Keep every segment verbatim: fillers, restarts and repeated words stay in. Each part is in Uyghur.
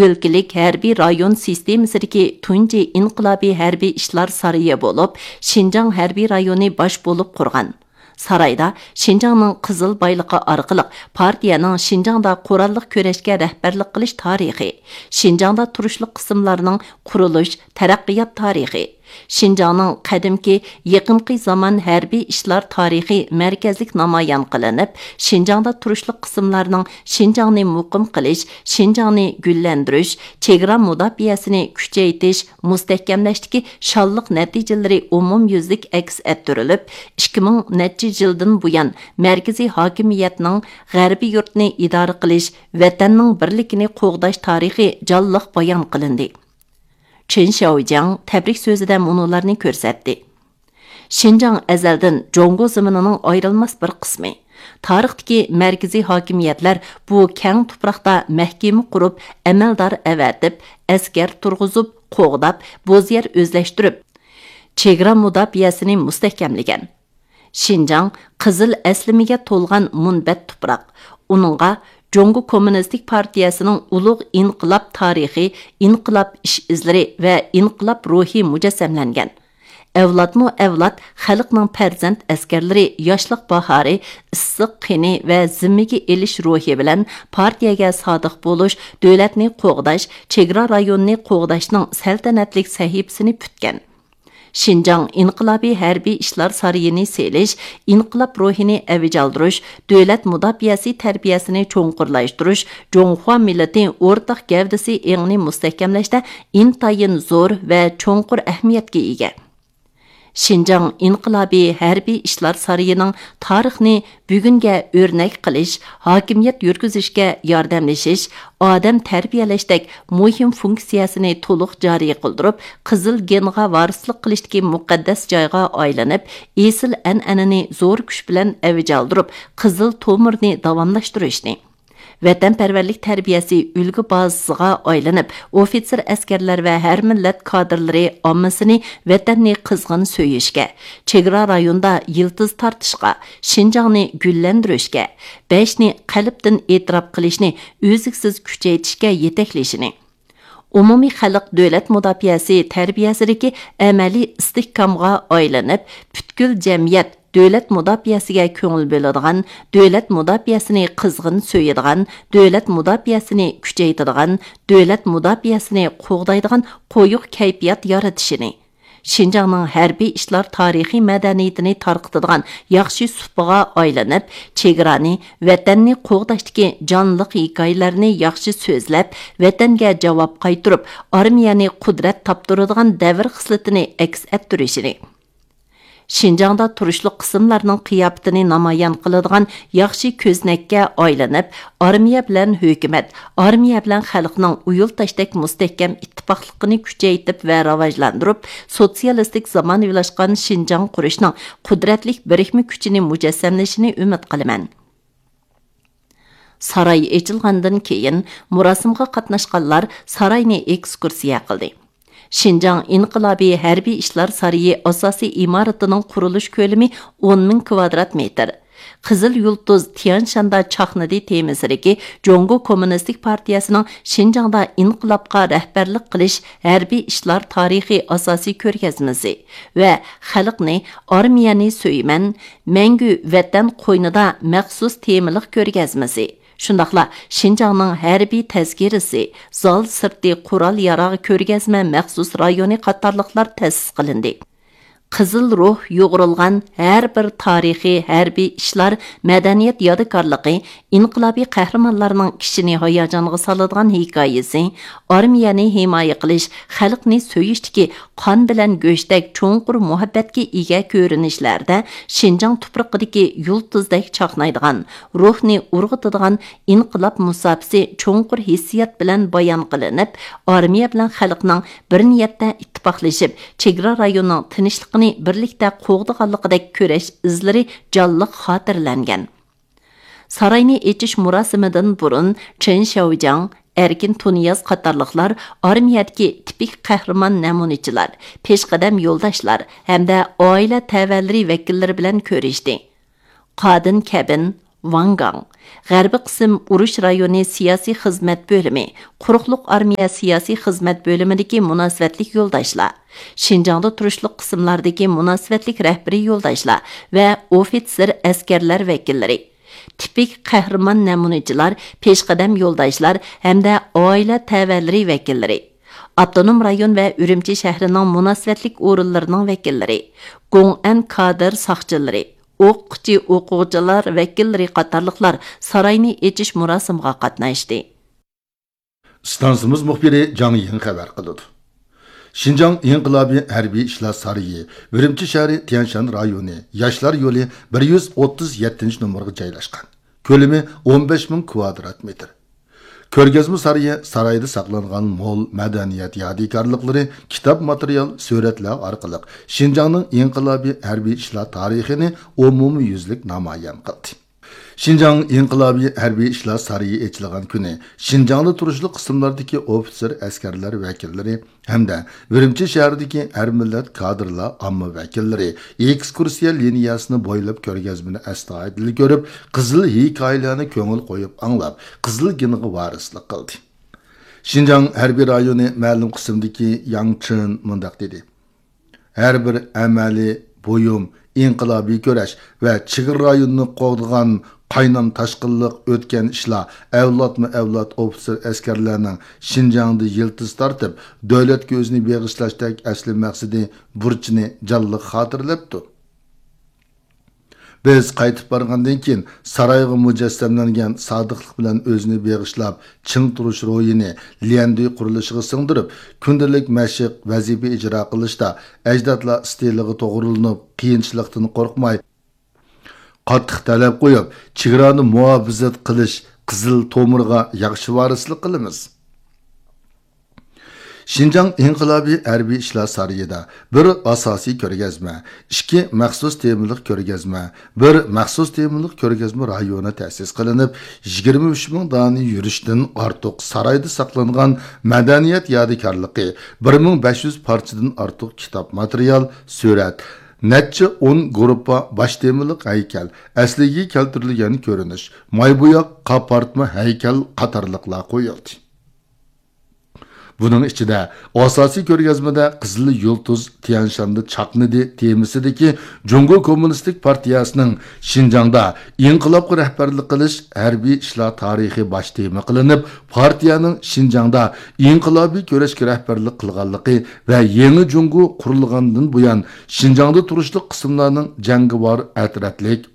ئۆلكىلىك ھەربىي رايون سىستېمىسىدىكى تۇنجى ئىنقىلابىي ھەربىي ئىشلار سارىيى بولۇپ، شىنجاڭ ھەربىي رايونى باش بولۇپ قۇرغان. سارايدا شىنجاڭنىڭ قىزىل بايلىقى ئارقىلىق پارتىيەنىڭ شىنجاڭدا قوراللىق كۈرەشكە رەھبەرلىك قىلىش تارىخى، شىنجاڭدا تۇرۇشلۇق قىسىملارنىڭ قۇرۇلۇش، تەرەققىيات تارىخى، شىنجاڭنىڭ قەدىمكى، يېقىنقى زامان ھەربىي ئىشلار تارىخى مەركەزلىك نامايان قىلىنىپ، شىنجاڭدا تۇرۇشلۇق قىسىملارنىڭ شىنجاڭنى مۇقىم قىلىش، شىنجاڭنى گۈللەندۈرۈش، چېگرا مۇداپىئەسىنى كۈچەيتىش، مۇستەھكەملەشتىكى شانلىق نەتىجىلىرى ئومۇميۈزلۈك ئەكس ئەتتۈرۈلۈپ، ئىككى مىڭ نەچچە يىلدىن بۇيان مەركىزىي ھاكىمىيەتنىڭ غەربىي يۇرتنى ئىدارە قىلىش، ۋەتەننىڭ بىرلىكىنى قوغداش تارىخى جانلىق بايان قىلىندى. چېن شياۋجياڭ تەبرىك سۆزىدە مۇنۇلارنى كۆرسەتتى: شىنجاڭ ئەزەلدىن جۇڭگو زېمىنىنىڭ ئايرىلماس بىر قىسمى. تارىختىكى مەركىزىي ھاكىمىيەتلەر بۇ كەڭ تۇپراقتا مەھكىمە قۇرۇپ، ئەمەلدار ئەۋەتىپ، ئەسكەر تۇرغۇزۇپ، قوغداپ، بوز يەر ئۆزلەشتۈرۈپ، چېگرا مۇداپىئەسىنى مۇستەھكەملىگەن. شىنجاڭ قىزىل ئەسلىمىگە تولغان مۇنبەت تۇپراق. ئۇنىڭغا جۇڭگو كوممۇنىستىك پارتىيەسىنىڭ ئۇلۇغ ئىنقىلاب تارىخى، ئىنقىلاب ئىش ئىزلىرى ۋە ئىنقىلاب روھى مۇجەسسەملەنگەن. ئەۋلادمۇ ئەۋلاد خەلقنىڭ پەرزەنت ئەسكەرلىرى ياشلىق باھارى، ئىسسىق قېنى ۋە زىممىگە ئېلىش روھى بىلەن پارتىيەگە سادىق بولۇش، دۆلەتنى قوغداش، چېگرا رايونىنى قوغداشنىڭ سەلتەنەتلىك سەھىپىسىنى پۈتكەن. شىنجاڭ ئىنقىلابىي ھەربىي ئىشلار سارىيىنى سېلىش، ئىنقىلاب روھىنى ئەۋج ئالدۇرۇش، دۆلەت مۇداپىئەسى تەربىيەسىنى چوڭقۇرلاشتۇرۇش، جۇڭخۇا مىللىتى ئورتاق گەۋدىسى ئېڭىنى مۇستەھكەملەشتە ئىنتايىن زور ۋە چوڭقۇر ئەھمىيەتكە ئىگە. شىنجاڭ ئىنقىلابىي ھەربىي ئىشلار سارىيىنىڭ تارىخنى بۈگۈنگە ئۆرنەك قىلىش، ھاكىمىيەت يۈرگۈزۈشكە ياردەملىشىش، ئادەم تەربىيەلەشتەك مۇھىم فۇنكسىيەسىنى تولۇق جارى قىلدۇرۇپ، قىزىل گېنغا ۋارىسلىق قىلىشتىكى مۇقەددەس جايغا ئايلىنىپ، ئېسىل ئەنئەنىنى زور كۈچ بىلەن ئەۋج ئالدۇرۇپ، قىزىل تومۇرنى داۋاملاشتۇرۇشنى، ۋەتەنپەرۋەرلىك تەربىيەسى ئۈلگە بازىسىغا ئايلىنىپ، ئوفىتسېر ئەسكەرلەر ۋە ھەر مىللەت كادىرلىرى ئاممىسىنى ۋەتەننى قىزغىن سۆيۈشكە، چېگرا رايوندا يىلتىز تارتىشقا، شىنجاڭنى گۈللەندۈرۈشكە، بەشنى قەلبتىن ئېتىراپ قىلىشنى ئۈزلۈكسىز كۈچەيتىشكە يېتەكلىشىنى، ئومۇمىي خەلق دۆلەت مۇداپىئەسى تەربىيەسىدىكى ئەمەلىي ئىستىھكامغا ئايلىنىپ، پۈتكۈل جەمئىيەت دۆلەت مۇداپىئەسىگە كۆڭۈل بۆلىدىغان، دۆلەت مۇداپىئەسىنى قىزغىن سۆيىدىغان، دۆلەت مۇداپىئەسىنى كۈچەيتىدىغان، دۆلەت مۇداپىئەسىنى قوغدايدىغان قويۇق كەيپىيات يارىتىشىنى، شىنجاڭنىڭ ھەربىي ئىشلار تارىخىي مەدەنىيىتىنى تارقىتىدىغان ياخشى سۇپىغا ئايلىنىپ، چېگرانى، ۋەتەننى قوغداشتىكى جانلىق ھېكايىلەرنى ياخشى سۆزلەپ، ۋەتەنگە جاۋاب قايتۇرۇپ، ئارمىيەنى قۇدرەت تاپتۇرىدىغان دەۋر خىسلىتىنى ئەكس ئەتتۈرۈشىنى، شىنجاڭدا تۇرۇشلۇق قىسىملارنىڭ قىياپىتىنى نامايان قىلىدىغان ياخشى كۆزنەككە ئايلىنىپ، ئارمىيە بىلەن ھۆكۈمەت، ئارمىيە بىلەن خەلقنىڭ ئۇيۇل تاشتەك مۇستەھكەم ئىتتىپاقلىقىنى كۈچەيتىپ ۋە راۋاجلاندۇرۇپ، سوتسىيالىستىك زامانىۋىلاشقان شىنجاڭ قۇرۇشنىڭ قۇدرەتلىك بىرىكمە كۈچىنى مۇجەسسەملىشىنى ئۈمىد قىلىمەن. ساراي ئېچىلغاندىن كېيىن، مۇراسىمغا قاتناشقانلار ساراينى ئېكسكۇرسىيە قىلدى. شىنجاڭ ئىنقىلابىي ھەربىي ئىشلار سارىيى ئاساسىي ئىمارىتىنىڭ قۇرۇلۇش كۆلىمى ئون مىڭ كۋادرات مېتىر. قىزىل يۇلتۇز تيانشاندا چاقنىدى تېمىسىدىكى جۇڭگو كوممۇنىستىك پارتىيەسىنىڭ شىنجاڭدا ئىنقىلابقا رەھبەرلىك قىلىش ھەربىي ئىشلار تارىخىي ئاساسىي كۆرگەزمىسى ۋە خەلقنى، ئارمىيەنى سۆيىمەن، مەڭگۈ ۋەتەن قوينىدا مەخسۇس تېمىلىق كۆرگەزمىسى، شۇنداقلا شىنجاڭنىڭ ھەربىي تەزكىرىسى، زال سىرتى قورال ياراغ كۆرگەزمە مەخسۇس رايونى قاتارلىقلار تەسىس قىلىندى. قىزىل روھ يۇغۇرۇلغان ھەر بىر تارىخىي ھەربىي ئىشلار، مەدەنىيەت يادىكارلىقى، ئىنقىلابىي قەھرىمانلارنىڭ كىشىنى ھاياجانغا سالىدىغان ھېكايىسى، ئارمىيەنى ھىمايە قىلىش، خەلقنى سۆيۈشتىكى قان بىلەن گۆشتەك چوڭقۇر مۇھەببەتكە ئىگە كۆرۈنۈشلەردە شىنجاڭ تۇپرىقىدىكى يۇلتۇزدەك چاقنايدىغان، روھنى ئۇرغۇتىدىغان ئىنقىلاب مۇساپىسى چوڭقۇر ھېسسىيات بىلەن بايان قىلىنىپ، ئارمىيە بىلەن خەلقنىڭ بىر نىيەتتە ئىتتىپاقلىشىپ، چېگرا رايونىنىڭ تىنچلىقىنى بىرلىكتە قوغدىغانلىقىدەك كۈرەش ئىزلىرى جانلىق خاتىرىلەنگەن. ساراينى ئېچىش مۇراسىمىدىن بۇرۇن چېن شياۋجياڭ، ئەركىن تۇنىياز قاتارلىقلار ئارمىيەدىكى تىپىك قەھرىمان نەمۇنىچىلار، پېشقەدەم يولداشلار ھەمدە ئائىلە تەۋەلىرى ۋەكىللىرى بىلەن كۆرۈشتى. قادىن كەبىن، ۋاڭ گاڭ، غەربىي قىسىم ئۇرۇش رايونى سىياسىي خىزمەت بۆلۈمى، قۇرۇقلۇق ئارمىيە سىياسىي خىزمەت بۆلۈمىدىكى مۇناسىۋەتلىك يولداشلار، شىنجاڭدا تۇرۇشلۇق قىسىملاردىكى مۇناسىۋەتلىك رەھبىرىي يولداشلار ۋە ئوفىتسېر ئەسكەرلەر ۋەكىللىرى، تىپىك قەھرىمان نەمۇنىچىلار، پېشقەدەم يولداشلار ھەمدە ئائىلە تەۋەلىرى ۋەكىللىرى، ئاپتونوم رايون ۋە ئۈرۈمچى شەھىرىنىڭ مۇناسىۋەتلىك ئورۇنلىرىنىڭ ۋەكىللىرى، گوڭئەن كادىر ساقچىلىرى، ئوقۇتقۇچى، ئوقۇغۇچىلار ۋەكىللىرى قاتارلىقلار ساراينى ئېچىش مۇراسىمىغا قاتناشتى. ئىستانسىمىز مۇخبىرى جاڭ يىڭ خەۋەر قىلىدۇ. شىنجاڭ ئىنقىلابىي ھەربىي ئىشلار سارىيى، ئۈرۈمچى شەھىرى تيەنشان رايونى، ياشلار يولى بىر يۈز ئوتتۇز يەتتىنچى نومۇرغا جايلاشقان. كۆلىمى ئون بەش مىڭ كۋادرات مېتىر. كۆرگەزمە سارىيى، سارايدا ساقلانغان مول مەدەنىيەت يادىكارلىقلىرى، كىتاب ماتېرىيال، سۈرەتلەر ئارقىلىق شىنجاڭنىڭ ئىنقىلابىي ھەربىي ئىشلار تارىخىنى ئومۇميۈزلۈك نامايان قىلدى. شىنجاڭ ئىنقىلابىي ھەربىي ئىشلار سارىيى ئېچىلغان كۈنى شىنجاڭدا تۇرۇشلۇق قىسىملاردىكى ئوفىتسېر ئەسكەرلەر ۋەكىللىرى ھەمدە ئۈرۈمچى شەھىرىدىكى ھەر مىللەت كادىرلار ئامما ۋەكىللىرى ئېكسكۇرسىيە لىنىيەسىنى بويلاپ كۆرگەزمىنى ئەستايىدىل كۆرۈپ، قىزىل ھېكايىلەرنى كۆڭۈل قويۇپ ئاڭلاپ، قىزىل گېنغا ۋارىسلىق قىلدى. شىنجاڭ ھەربىي رايونى مەلۇم قىسىمدىكى ياڭ چېن مۇنداق دېدى: ھەر بىر ئەمەلىي بۇيۇم، ئىنقىلابىي كۈرەش ۋە چېگرا رايونىنى قوغدىغان قاينام تاشقىنلىق ئۆتكەن ئىشلار ئەۋلادمۇ ئەۋلاد ئوفىتسېر ئەسكەرلەرنىڭ شىنجاڭدا يىلتىز تارتىپ، دۆلەتكە ئۆزىنى بېغىشلاشتەك ئەسلى مەقسىتى، بۇرچىنى جانلىق خاتىرىلەپتۇ. بىز قايتىپ بارغاندىن كېيىن، سارايغا مۇجەسسەملەنگەن سادىقلىق بىلەن ئۆزىنى بېغىشلاپ، چىڭ تۇرۇش روھىنى ليەندۈي قۇرۇلۇشىغا سىڭدۈرۈپ، كۈندىلىك مەشىق، ۋەزىپە ئىجرا قىلىشتا ئەجدادلار ئىستىلىغا توغرىلىنىپ، قىيىنچىلىقتىن قورقماي، قاتتىق تەلەپ قويۇپ، چېگرانى مۇھاپىزەت قىلىش قىزىل تومۇرىغا ياخشى ۋارىسلىق قىلىمىز. شىنجاڭ ئىنقىلابىي ھەربىي ئىشلار سارىيىدا بىر ئاساسىي كۆرگەزمە، ئىككى مەخسۇس تېمىلىق كۆرگەزمە، بىر مەخسۇس تېمىلىق كۆرگەزمە رايونى تەسىس قىلىنىپ، يىگىرمە ئۈچ مىڭ دانە يۈرۈشتىن ئارتۇق سارايدا ساقلانغان مەدەنىيەت يادىكارلىقى، بىر مىڭ بەش يۈز پارچىدىن ئارتۇق كىتاب ماتېرىيال، سۈرەت، نەچچە ئون گۇرۇپپا باش تېمىلىق ھەيكەل، ئەسلىگە كەلتۈرۈلگەن كۆرۈنۈش، ماي بوياق، قاپارتما ھەيكەل قاتارلىقلار قويۇلدى. بۇنىڭ ئىچىدە ئاساسىي كۆرگەزمىدە قىزىل يۇلتۇز تيەنشاندا چاقنىدى تېمىسىدىكى جۇڭگو كوممۇنىستىك پارتىيەسىنىڭ شىنجاڭدا ئىنقىلابقا رەھبەرلىك قىلىش ھەربىي ئىشلار تارىخى باش تېما قىلىنىپ، پارتىيەنىڭ شىنجاڭدا ئىنقىلابىي كۈرەشكە رەھبەرلىك قىلغانلىقى ۋە يېڭى جۇڭگو قۇرۇلغاندىن بۇيان شىنجاڭدا تۇرۇشلۇق قىسىملارنىڭ جەڭگىۋار ئەترەتلىك،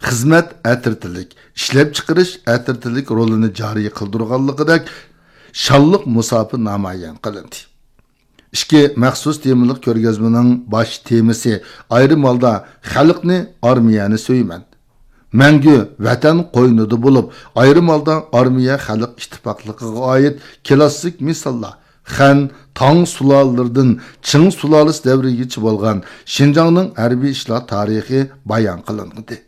خىزمەت ئەترىتىلىك، ئىشلەپچىقىرىش ئەترىتىلىك رولىنى جارى قىلدۇرغانلىقىدەك شانلىق مۇساپە نامايان قىلىندى. ئىككى مەخسۇس تېمىلىق كۆرگەزمىنىڭ باش تېمىسى ئايرىم ھالدا خەلقنى، ئارمىيەنى سۆيىمەن، مەڭگۈ ۋەتەن قوينىدا بولۇپ، ئايرىم ھالدا ئارمىيە خەلق ئىتتىپاقلىقىغا ئائىت كىلاسسىك مىساللار، خەن، تاڭ سۇلالىلىرىدىن چىڭ سۇلالىسى دەۋرىگىچە بولغان شىنجاڭنىڭ ھەربىي ئىشلار تارىخى بايان قىلىنغىدى.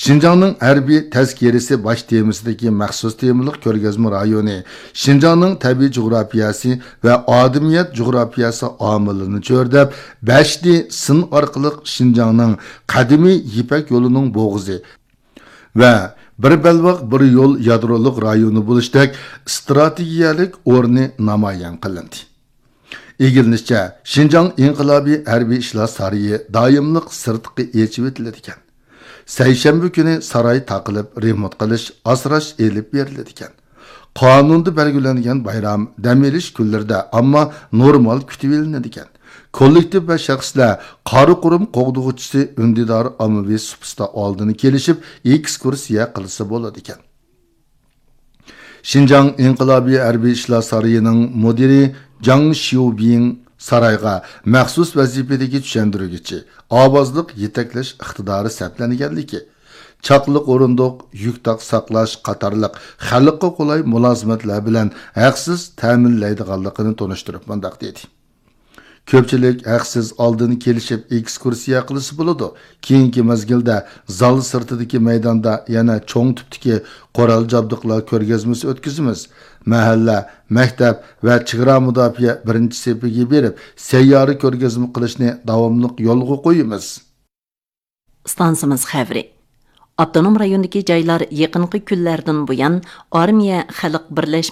شىنجاڭنىڭ ھەربىي تەزكىرىسى باش تېمىسىدىكى مەخسۇس تېمىلىق كۆرگەزمە رايونى شىنجاڭنىڭ تەبىئىي جۇغراپىيەسى ۋە ئادىمىيەت جۇغراپىيەسى ئامىلىنى چۆرىدەپ، بەش دى سىن ئارقىلىق شىنجاڭنىڭ قەدىمىي يىپەك يولىنىڭ بوغۇزى ۋە بىر بەلباغ، بىر يول يادرولۇق رايونى بولۇشتەك ئىستراتېگىيەلىك ئورنى نامايان قىلىندى. ئىگىلىنىشىچە، شىنجاڭ ئىنقىلابىي ھەربىي ئىشلار سارىيى دائىملىق سىرتقا ئېچىۋېتىلىدىكەن. سەيشەنبە كۈنى ساراي تاقىلىپ، رېمونت قىلىش، ئاسراش ئېلىپ بېرىلىدىكەن. قانۇندا بەلگىلەنگەن بايرام، دەم ئېلىش كۈنلىرىدە ئامما نورمال كۈتۈۋېلىنىدىكەن. كوللېكتىپ ۋە شەخسلەر قارا قۇرۇم قوغدىغۇچىسى ئۈندىدار ئاممىۋى سۇپىسىدا ئالدىن كېلىشىپ، ئېكسكۇرسىيە قىلسا بولىدىكەن. شىنجاڭ ئىنقىلابىي ھەربىي ئىشلار سارىيىنىڭ مۇدىرى جاڭ شيۇبىڭ سارايغا مەخسۇس ۋەزىپىدىكى چۈشەندۈرگۈچى، ئاۋازلىق يېتەكلەش ئىقتىدارى سەپلەنگەنلىكى، چاقلىق ئورۇندۇق، يۈك تاق ساقلاش قاتارلىق خەلققە قولاي مۇلازىمەتلەر بىلەن ھەقسىز تەمىنلەيدىغانلىقىنى تونۇشتۇرۇپ مۇنداق دېدى: كۆپچىلىك ھەقسىز ئالدىن كېلىشىپ ئېكسكۇرسىيە قىلسا بولىدۇ. كېيىنكى مەزگىلدە زال سىرتىدىكى مەيداندا يەنە چوڭ تىپتىكى قورال جابدۇقلار كۆرگەزمىسى ئۆتكۈزىمىز. مەھەللە، مەكتەپ ۋە چېگرا مۇداپىئە بىرىنچى سېپىگە بېرىپ، سەييارە كۆرگەزمە قىلىشنى داۋاملىق يولغا قويىمىز. ئىستانسىمىز خەۋىرى. ئاپتونوم رايوندىكى جايلار يېقىنقى كۈنلەردىن بۇيان ئارمىيە خەلق بىرلەشمە